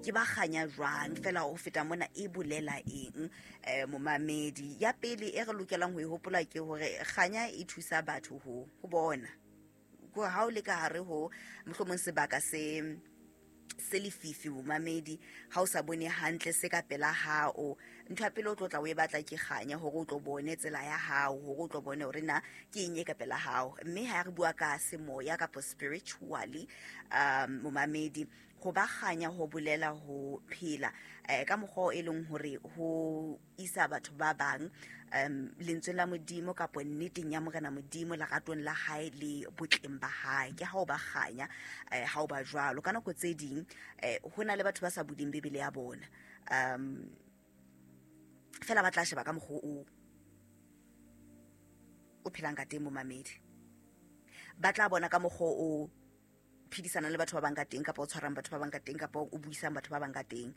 Ke ba kganya jwang? Fela ho feta mona, e bolela eng, momamedi? Ya pele e re lokelang ho e hopola ke hore kganya e thusa batho ho bona ko ha o le ka hare ho mohlomong sebaka se lefifi, momamedi, ha o sa bone hantle se ka pela hao. Ntho ya pele o tlo tla o e batla ke kganya, hore o tlo bone tsela ya hao, hore o tlo bone hore na ke eng e ka pela hao. Mme ha re bua ka semoya kapa spiritually, momamedi, ho ba kganya ho bolela ho phela ka mokgwa o e leng hore ho isa batho ba bang lentsweng la Modimo kapa nneteng ya Morena Modimo, leratong la hae le botleng ba hae. Ke ha o ba kganya, ha o ba jwalo. Ka nako tse ding ho na le batho ba sa buding Bibele ya bona, fela ba tla sheba ka mokgwa o phelang ka teng, momamedi. Ba tla bona ka mokgwa o phedisanang le batho ba bang ka teng, kapa o tshwarang batho ba bang ka teng, kapa o buisang batho ba bang ka teng,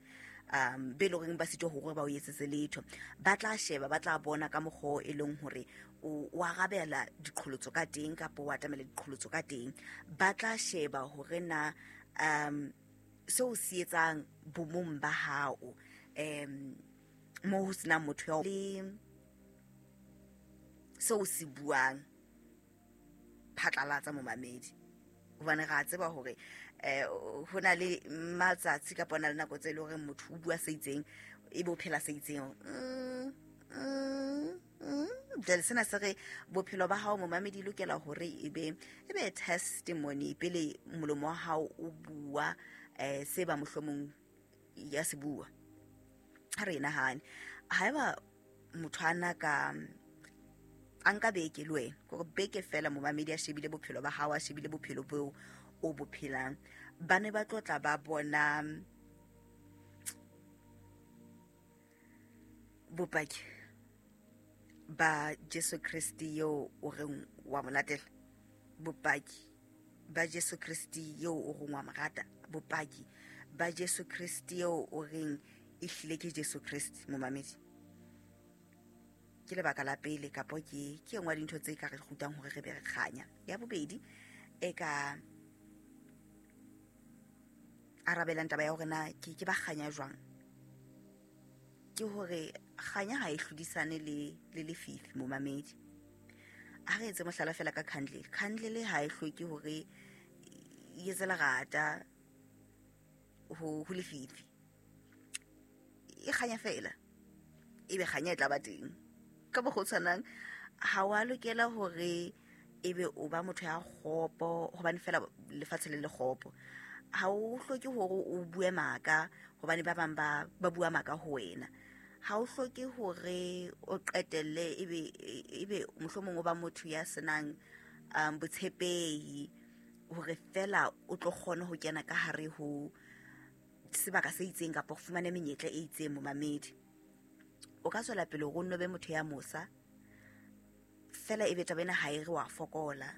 be e le horeng ba sitwa hore ba o etsetse letho. Ba tla sheba, ba tla bona ka mokgwa o e leng hore o arabela diqholotso ka teng, kapa o atamela diqholotso ka teng. Ba tla sheba hore na seo se etsang bomong ba hao, mo ho senang motho ya le seo se buang phatlalatsa, momamedi, hobane re a tseba hore ho na le matsatsi kapa ho na le nako tse e leng hore motho o bua se itseng, ebe o phela se itseng. Jwale sena se re bophelo ba hao, momamedi, e lokela hore ebe testimony pele molomo wa hao o bua se ba mohlomong ya se bua. Ha re e nahane, haeba motho a na ka a nka beke le wena, kore beke fela, momamedi, a shebile bophelo ba hao, a shebile bophelo boo o bo phelang, ba ne ba tlo tla ba bona bopaki ba Jesu Kriste eo o reng wa mo latela, bopaki ba Jesu Kriste eo o reng wa mo rata, bopaki ba Jesu Kriste eo o reng e hlile ke Jesu Kriste, momamedi. Ke lebaka la pele, kapo ke engwe ya dintho tse ka re rutang hore re be re kganya. Ya bobedi e ka arabelang taba ya hore na ke ba kganya jwang, ke hore kganya ha e hlodisane le lefifi, momamedi. Ha re etse mohlala fela ka candle. Candle ha e hloke hore e etse lerata ho lefifi, e kganya fela, ebe kganya e tla ba teng. Ka mokgwa o tshwanang, ha wa lokela hore ebe o ba motho ya kgopo hobane fela lefatshe le le kgopo. Ha o hloke hore o bue maka hobane ba bang ba bua maka ho wena. Ha o hloke hore o qetelle ebe mohlomong o ba motho ya senang botshepehi hore fela o tlo kgona ho kena ka hare ho sebaka se itseng kapa ho fumane menyetla e itseng, momamedi. O ka tswela pele hore o nno be motho ya mosa fela, ebe taba ena ha e re wa fokola.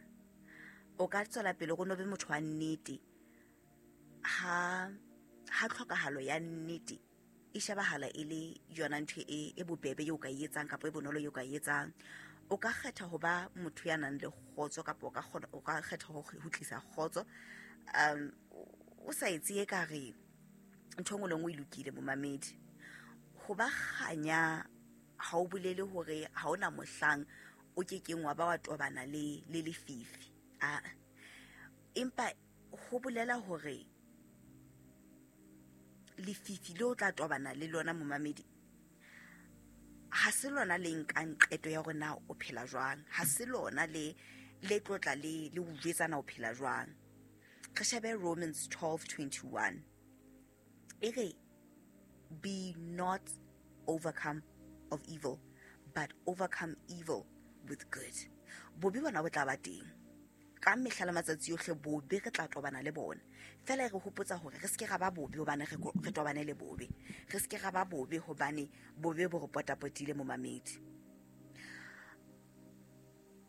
O ka tswela pele hore o nno be motho wa nnete ha tlhokahalo ya nnete e shebahala e le yona ntho e bobebe eo ka e etsang, kapa e bonolo eo ka e etsang. O ka kgetha ho ba motho ya nang le kgotso, kapa o ka kgetha ho tlisa kgotso, o sa etse e ka re ntho e nngwe le nngwe e lokile, momamedi. Ho ba kganya ha o bolele hore ha ona mohlang o kekeng wa ba wa tobana le lefifi, a empa ho bolela hore lefifi le o tla tobana le lona, momamedi, ha se lona le nkang qeto ya hore na o phela jwang, ha se lona le tlotla le o jwetsa na o phela jwang. Re shebe Romans 12:21, e re, "Be not overcome of evil, but overcome evil with good." Bobe bona bo tla ba teng ka mehla le matsatsi yohle, bobe re tla tobana le bona. Fela e re hopotsa hore re seke ra ba bobe hobane re tobane le bobe, re seke ra ba bobe hobane bobe bo re potapotile, momamedi.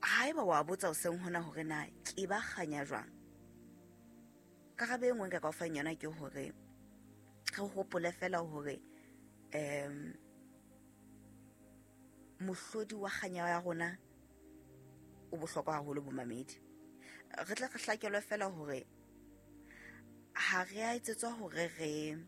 Haeba wa botsa hoseng hona hore na ke ba kganya jwang, karabo e nngwe nka ka o fang yona ke hore re hopole fela hore mohlodi wa kganya ya rona o bohlokwa haholo, bomamedi. Re tle re hlakelwe fela hore ha re a etsetswa hore re